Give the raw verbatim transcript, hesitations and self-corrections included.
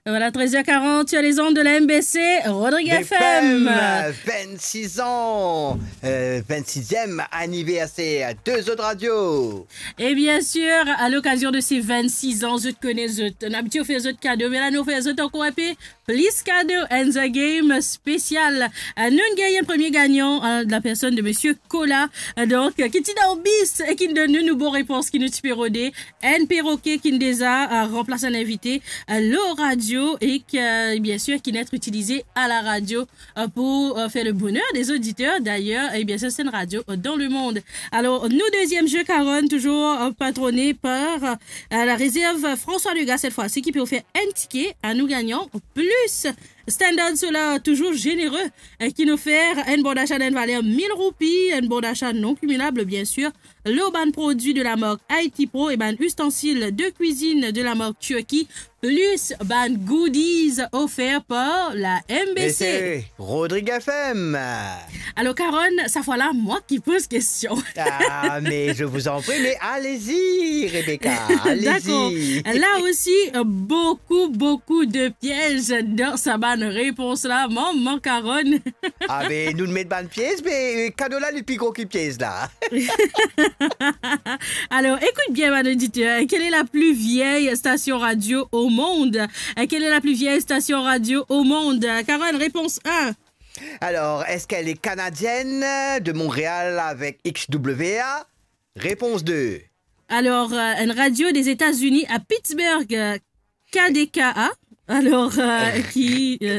Voilà, treize heures quarante sur les ondes de la M B C, Rodrigue F M. F M, euh, vingt-six ans, euh, vingt-sixième anniversaire de Zot Radio. Et bien sûr, à l'occasion de ces vingt-six ans, zot kone zot, nou abitie fer zot kado, me la nou fer zot ankor inpe plis kado, and the game spécial. Euh, nou gagn premie gagnan, euh, de la personne de Monsieur Kola, euh, donk, euh, ki ti dan bis e ki donn nou, nou bon repons ki nou ti pe rode. Enn perroquet ki deza, euh, ranplas enn invite, euh, lor radio e ki, euh, bien sûr, ki net itilize à la radio, euh, pour, euh, faire le bonheur des auditeurs d'ailleurs, et bien sûr, c'est une radio, euh, dans le monde. Alors, nou deuxième jeu, Carole, toujours, euh, patronné par, euh, la réserve François Degas cette fois-ci, ki pe ofer enn tike a nou gagnan, plus Standard Solar, toujours généreux, euh, ki nou fer enn bon d'achat d'une valeur mille roupies, enn bon d'achat non cumulable, bien sûr, lor bann prodwi de la marque Haiti Pro e bann ustensil de cuisine de la marque Turquie, plus bann goodies offerts par la M B C. E se Rodrigue F M. Alors, Carole, cette fois-là, moi qui pose question. Ah, mais je vous en prie, mais allez-y, Rebecca, allez-y. D'accord. Là aussi, euh, beaucoup, beaucoup de pièges dans sa bann repons la, maman Carole. Ah, ben, nou met bann pièges, mais, euh, kado la, li pli gro ki pièges la. Alors, écoute bien, mon auditeur. Quelle est la plus vieille station radio au monde ? Euh, quelle est la plus vieille station radio au monde ? Carole, réponse un. Alors, est-ce qu'elle est canadienne, de Montréal avec X W A ? Réponse deux. Alors, euh, une radio des États-Unis à Pittsburgh, euh, K D K A. Alors, euh, qui, euh,